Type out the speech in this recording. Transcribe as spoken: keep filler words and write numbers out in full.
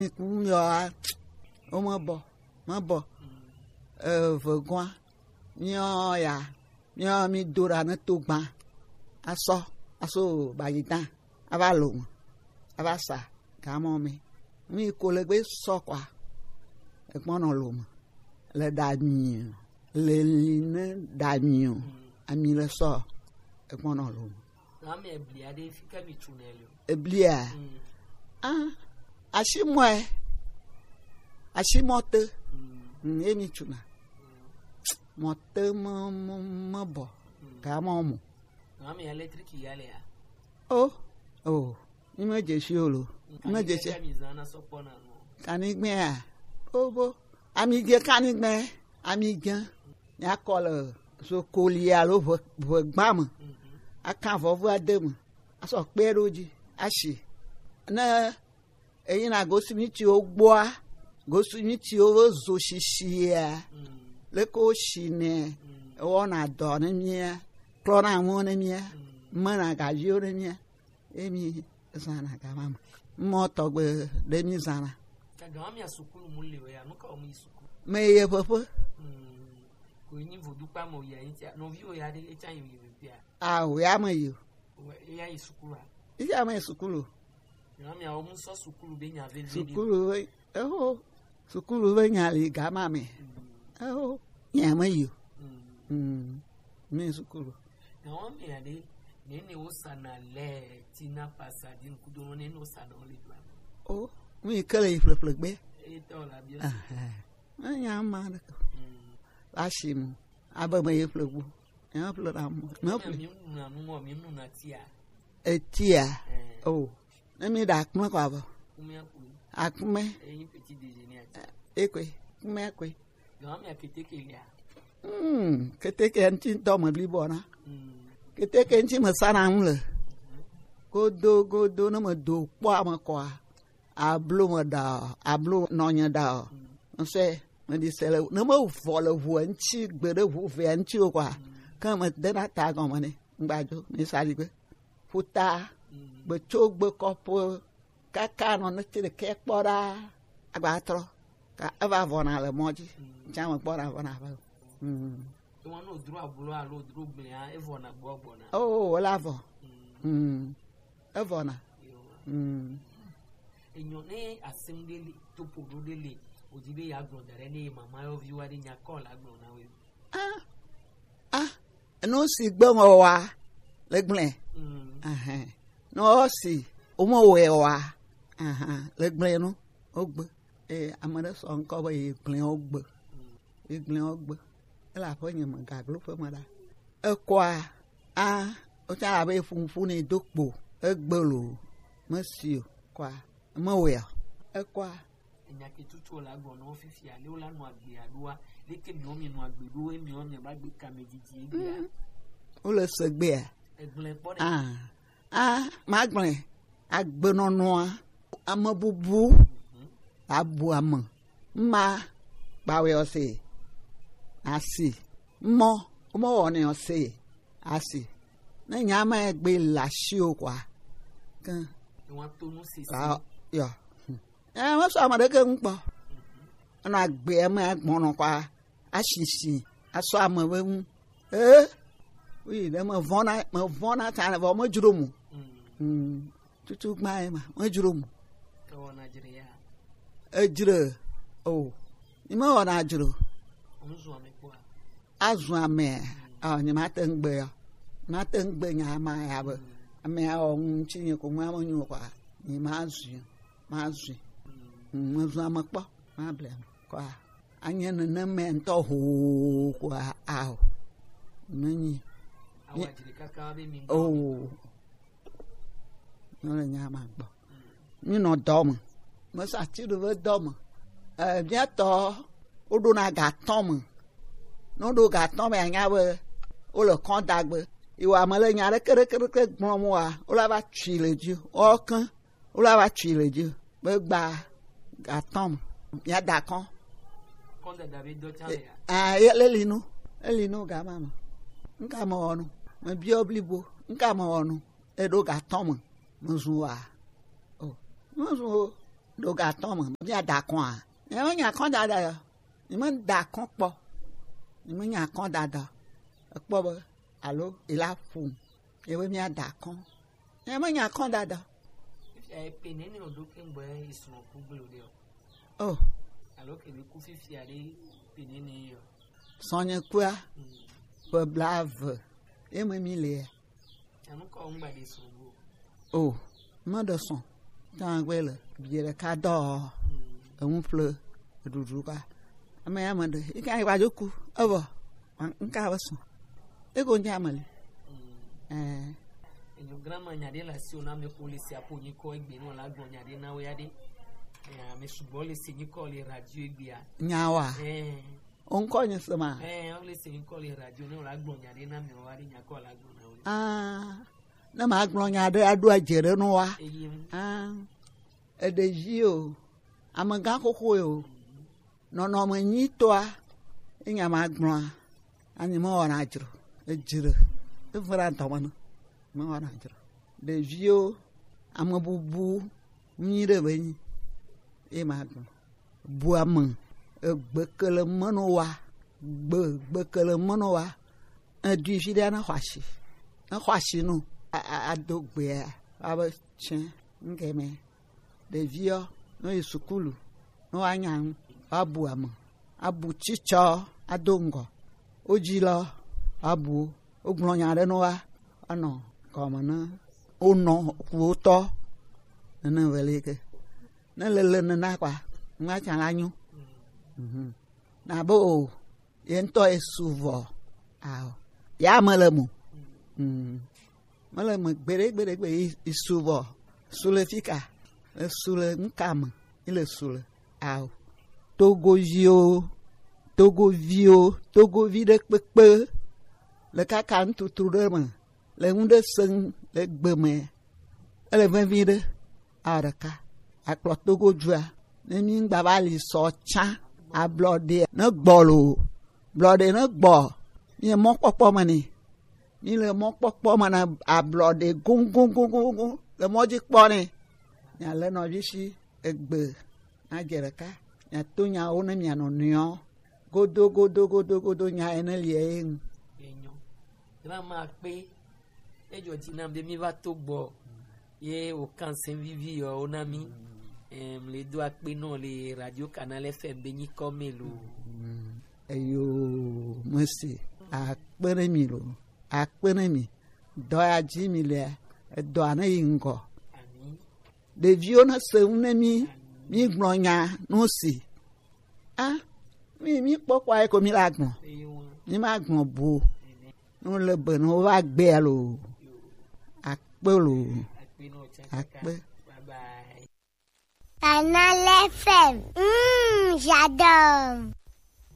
Ŋku yɔ a, wo me bɔ, me bɔ. Eh, vegɔa, miɔ ya, miɔ mi do ɖa ne to gbã. Asɔ, aso bayi dã, ava lo me, ava sa, gamɔ me. Mi ko le gbe sɔ kɔa, egbɔnɔ lo me. Le ɖa mi o, le li ne ɖa mi o, ami le sɔ, egbɔnɔ lo me. Ame eblia ɖe fi ke mi tsu ne le o. Eblia. Mm. Ah, asimɔe. Asimɔ te. Mm. Mm, ye mi tsuna. Mm. Mɔ te me, me, me bɔ. Mm. Ga mɔ mo. Ame électrique ya le ya. Oh, oh. Mi me je si o lo. Mm, mi me je si. Kanigbe mi zana sɔ kpɔ na no. Kanigbe ya. Oh, bo. Ami je kanigbe. Ami je. Nya kɔ le zokoli alo ʋe, ʋe gbã me. Mhm. Aka vɔvu ade me. Asɔ kpe ɖo dzi. Asi. Ne eyi na gosimitiwo gbɔa, gosimitiwo be zo shishia, mm, leke wo shi nɛ, mm, ewɔna dɔ ne mía, klɔna ŋu ne mía, mm, mena gaviwo ne mía, emi zana gama me. Mɔ tɔgbe ɖe mi zana. Gama mia sukulu mu le ya, nu ka wo mu yi sukulu? Me ye ƒeƒe. Mm. Ko yi nyi vodukpa me ya, yi tia, nɔviwo ya ɖe, etsa yi yi ƒeƒea? Ah, o ya me yi o. Eya yi sukulu a? Iya me sukulu. Nyɔnu miawo mu sɔ sukulu be nya vevi ɖe. Sukulu be, eho, sukulu be nya li gama me. Mm. Eho, nya me yi o. Mm. Mm. Me sukulu. Nyɔnu mia ɖe, ne ne wo sana le tina pasa di nukudo ne ne wo sana wo le dua. O, mi kele yi ƒleƒle gbe. Eyi tɔ la bi o. Aha. Enya ma ɖe. Mm. Asi mu. Abe me ye ƒle gbo. Nya ƒle ɖa mu. Me ƒle. Mi nu na nu mo, mi nu na tia. Etia. Eh. Oh. Ne mi ɖa akpme kɔ avɔ. Kume akui. Akpme. Eyi petit déjeuner ati. Ekwe. Kume ekwe. Gama mi keteke lia. Hmm, keteke ŋuti ŋutɔ me blibo na. Hmm. Keteke ŋuti me sana ŋu le. Godo, godo, ne me do kpɔ ame kɔa. Ablo me ɖa o, ablo nɔnye ɖa o. Ŋsɛ, me ɖi se le, ne me vɔ le ʋua ŋuti, gbe ɖe ʋu vea ŋuti o kɔa, ke me de na ta gɔme ne, ŋgbadzo, mi sa ɖi gbe. Ƒuta, gbe tso gbe kɔƒe, kaka nɔ ne te ɖeke kpɔ ɖa, agba trɔ. Ka eva vɔna le mɔ dzi, tsã me kpɔna vɔna va. Mm. Ewɔ ne wòdro ablo alo wòdro gblẽa, evɔna gbɔ gbɔna. Oh, wòle avɔ. Mm. Mm. Evɔna. Yo. Mm. Enyo ne asem ɖe le, topo ɖo ɖe le, wòdi be yeagblɔ da ɖe ne ye mama yɔviwo aɖe nya kɔ la gblɔ na wo. Ah, ah, nu si gbe me wa le gblẽ. Mm. Ahã. Ne wosi, womewɔe wa. Ahã, le gblẽ nu, wogbe. Eye ame ɖe sɔ ŋkɔ be yi gblẽ wogbe. Mm. Yi gblẽ wogbe. Ele aƒe nye me gaglo ƒe me ɖa. Ekɔa, a, wotsã abe eƒo nuƒu nɛ do kpo. Egbe lo. Mesi o. Kɔa, mewɔe o. Ekɔa. Enya ke tutu la gblɔ na wo fifia, le wo la nɔ agbe aɖoa, leke miwo mi nɔ agbe ɖo, emiwo mi va gbe kame didi egbea. Mm. Wole se gbea? Egblẽ kpɔ ɖe. Ah. Ah, magblẽ agbenɔnɔa, ame bubu, mhm, abu ame. Ma, kpawe ɔse. Asi. Mɔ, womewɔnɛ ɔse. Asi. Ne nya ma gbe le asiwò kɔa, ke. Ni woato nu sisi. Ah, yɔ. Eh, mesɔ ame ɖeke ŋu kpɔ. Enɔ agbe eme agbɔnɔ kɔa, asisi, asɔ ame be ŋu. Eh, oui, ɖe me vɔna, me vɔna ta ne vɔ me dzro mo. Mm. Mm. Tutu gba ye ma, me dzro mo. Ke wɔna dzre ya. Edzre, o. Ni me wɔna dzro. Ŋu zu ame kpɔa. Azu amea, a, nyemate ŋu gbe ya. Mate ŋu gbe nya ma ya be. Amea wɔ ŋu ŋuti nye ko ŋua menyo kɔa, nyemazui, mazui. Mm, mezu ame kpɔ, mable ame kɔa. Anye nenema ŋutɔ hoo kɔa, ao. Menyi. Awa dzre kaka be mi. Oh. Míele nya ma gbɔ. Mínɔ dɔ me. Mesa ti ɖo be dɔ me. Eh, mía tɔ, woɖona ga atɔ̃ me. Ne woɖo ga atɔ̃ me, anya be wole kɔn da gbe. Yi wa me le nya ɖeke, ɖeke, ɖeke gblɔm wa, wola va tsui le dzi. Woke, wola va tsui le dzi. Be gba ga atɔ̃ me. Mía da kɔn. Kɔn dada be dɔ tsa le ya. Ah, ye le li nu. Eli nu ga ma me. Nka me wɔ nu. Me biɔ blibo. Nka me wɔ nu. Eɖo ga atɔ̃ me, mezu wa? O, mezu o. ɖo ga tɔn me, mi ada kɔn a? Nyɛ me nya kɔn dada yɔ. Nyɛ me da kɔn kpɔ. Nyɛ me nya kɔn dada. Ekpɔ be, alo, ela ƒo. Nyɛ be mi ada kɔn. Nyɛ me nya kɔn dada. Fifia ye pe nene o ɖo ke ŋgbɔ ye srɔ̃ ku gble o ɖe o. Oh. Alo ke mi ku fifia ɖe pe nene ye o. Sɔnye kua, ƒe blaeve. Ye me mi le ya. Enu kɔ ŋgba ɖe srɔ̃ go. O, me ɖe srɔ̃. Tagbe le biɛ ɖeka dɔ, enu ƒle, ɖuɖu ka. Ame ya me ɖe, yi ka yi va dzo ku, evɔ, ŋka be srɔ̃. Ego ŋdza me li. Eh. Enyo grama nya ɖe le asi o na ame ko le si apo nyikɔ egbe no la gblɔ nya ɖe na wo ya ɖe. Eh, ame sugbɔ le si nyikɔ le radio egbea. Nya wa. Eh. O ŋkɔ nye se ma. Eh, wo le si nyikɔ le radio ne wo la gblɔ nya ɖe na mi wa ɖe nya kɔ la gblɔ na wo. Ah, ne ma gblɔ nya ɖe aɖo adze ɖe no wa. Eye. Ah, eɖevi o, amegã xoxo o. Nɔnɔme nyitɔa, enya ma gblɔa, anyi mewɔna dzro, edzre, evena dɔme ne, mewɔna dzro. Ɖeviwo, ame bubu nyui ɖe be nyi, ye ma gblɔ. Bu ame, egbe ke le meno wa, gbe, gbe ke le meno wa, edui vi ɖe ne xɔ asi, ne xɔ asi no, a, a, ado gbea, abe tsɛ, ŋgɛmɛ. Ɖeviɔ, ne yi sukulu, ne woanya nu, woabu ame, abu tsitsɔ, ado ŋgɔ. Wodzi lɔ, woabu wo. Wogblɔ nya ɖe ne woa, woanɔ gɔme ne wonɔ ʋuwotɔ nene veli ke. Ne lele nena kɔa, nua tsã la nyo. Mhm. Na be o, ye ŋutɔ ye su vɔ. Ao. Ya mele mo. Mm. Mele me gbeɖe, gbeɖe, gbeɖe, yi, yi su vɔ. Su le fika. Le su le ŋka me. Yi le su le. Ao. Togoviwo, Togoviwo, Togovi ɖe kpekpe. Le kaka ŋututru ɖe me. Le ŋu ɖe se ŋu le gbe me. Ele vevi ɖe. Ao ɖeka. Akplɔ Togo dua. Ne mi ŋgba va li sɔ tsã. Ablɔ ɖe. Ne gbɔ lo. Blɔ ɖe ne gbɔ. Mi mɔkpɔkpɔ me ni. Mi le mɔkpɔkpɔ me na ablɔ ɖe goŋgoŋgoŋgoŋ. Le mɔ dzi kpɔ ni. Nya le nɔvi si egbe. Na dze ɖeka. Nya to nyawo ne mia nɔ nɔewo. Godo, godo, godo, godo, nya ene li ye ŋu. Enyo. Grandma kpe. Edzɔ dzi nam be mi va to gbɔ. Ye wò kanse vivi yɔ wo na mi. Em, le do akpe nɔ le Radio Canal F M be nyikɔ me lo. Mm. Eyo, mesi. Akpe ne mi lo. Akpe ne mi. Dɔ ya dzi mi le. Edɔ ne yi ŋgɔ. Ami. Ɖeviwo ne se ŋu ne mi, mi gblɔ nya no si. A, mi, mi kpɔkpɔ ayi ko mi la gblɔ. Mi ma gblɔ bo. No le be no va gbea lo. Akpe lo. Akpe. Canal F M. Mm, j'adore.